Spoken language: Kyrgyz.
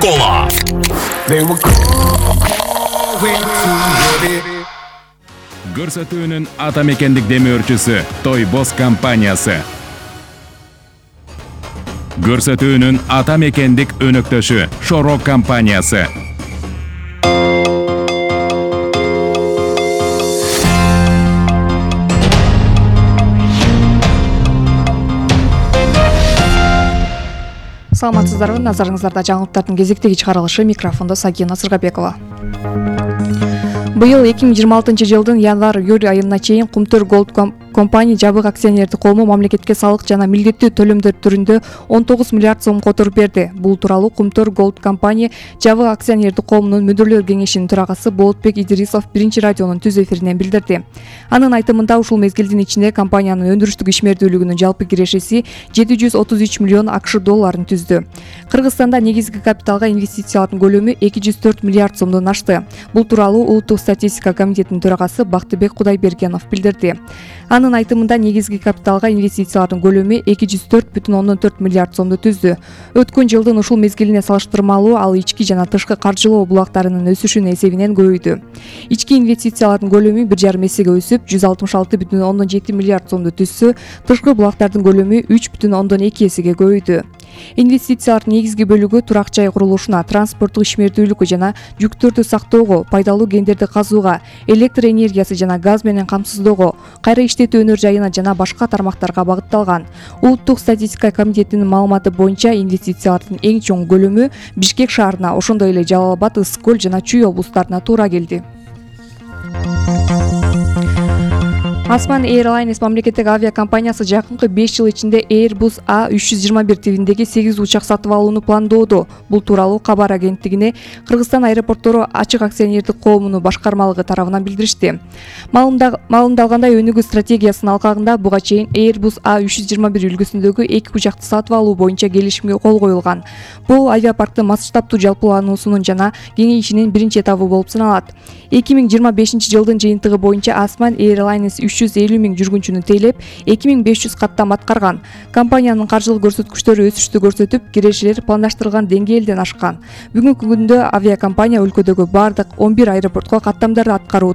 Кола. Көрсөтүүнүн ата мекендик демөөрчүсү Тойбос компаниясы. Көрсөтүүнүн ата мекендик өнөктөшү Шорок компаниясы. Саламатсыздарбы, назарыңыздарда жаңылыктардын кезектеги чыгарылышы, микрофондо Сагина Сыргабекова. Быйыл 2026 январь-июль айына чейин Кумтөр Голд компания жабык акционердик коому мамлекетке салык жана милдеттүү төлөмдөр түрүндө 19 миллиард сом которуп берди. Бул тууралуу Кумтөр Голд компания жабык акционердик коомунун мүдүрлөр кеңешинин төрагасы Болотбек Идрисов биринчи радионун түз эфиринен билдирди. Анын айтымында ушул мезгилдин ичинде компаниянын өндүрүштүк ишмердүүлүгүнүн жалпы кирешеси 733 миллион АКШ долларын түздү. Кыргызстанда негизги капиталга инвестициялардын көлөмү 204 миллиард сомдон ашты. Бул тууралуу Улуттук статистика комитетинин төрагасы Бактыбек Кудайбергенов билдирди. Анын айтымында негизги капиталга инвестициялардын көлөмү 204,4 миллиард сомду түздү. Өткөн жылдын ушул мезгилине салыштырмалуу ал ички жана тышкы каржылоо булактарынын өсүшүнүн эсебинен көбөйдү. Ички инвестициялардын көлөмү 1,5 эсеге өсүп, 166,7 миллиард сомду түзсө, тышкы булактардын көлөмү 3,2 эсеге көбөйдү. Инвестициялардын негизги бөлүгү турак жай курулушуна, транспорттук ишмердүүлүккө жана жүктөрдү сактоого, пайдалуу кендерди казууга, электр энергиясы жана газ менен камсыздоого, кайра иштетүү өнөр жайына жана башка тармактарга багытталган. Улуттук статистика комитетинин маалыматы боюнча инвестициялардын эң чоң көлөмү Бишкек шаарына, ошондой эле Жалал Абад, Ысык Көл жана Чүй облустарына туура келди. Osman Airlines мамлекеттик авиакомпаниясы жакынкы 5 жыл ичинде Airbus A321 тибиндеги 8 учак сатып алууну пландоодо. Бул тууралуу кабар агенттигине Кыргызстан аэропорттору ачык акционердик коомунун башкармалыгы тарабынан билдиришти. Маалымдалгандай, өнүгүү стратегиясынын алкагында буга чейин Airbus A321 үлгүсүндөгү 2 учакты сатып алуу боюнча келишимге кол коюлган. Бул авиапарктын масштабтуу жалпылануусунун жана кеңейишинин биринчи этабы болуп саналат. 2025 жылдын жыйынтыгы боюнча Osman Airlines 350 миң жүргүнчүнү тейлеп, 2500 каттам аткарган. Компаниянын каржылык көрсөткүчтөрү өсүштү көрсөтүп, кирешелер пландаштырылган деңгээлден ашкан. Бүгүнкү күндө авиакомпания өлкөдөгү бардык 11 аэропортко каттамдарды аткаруу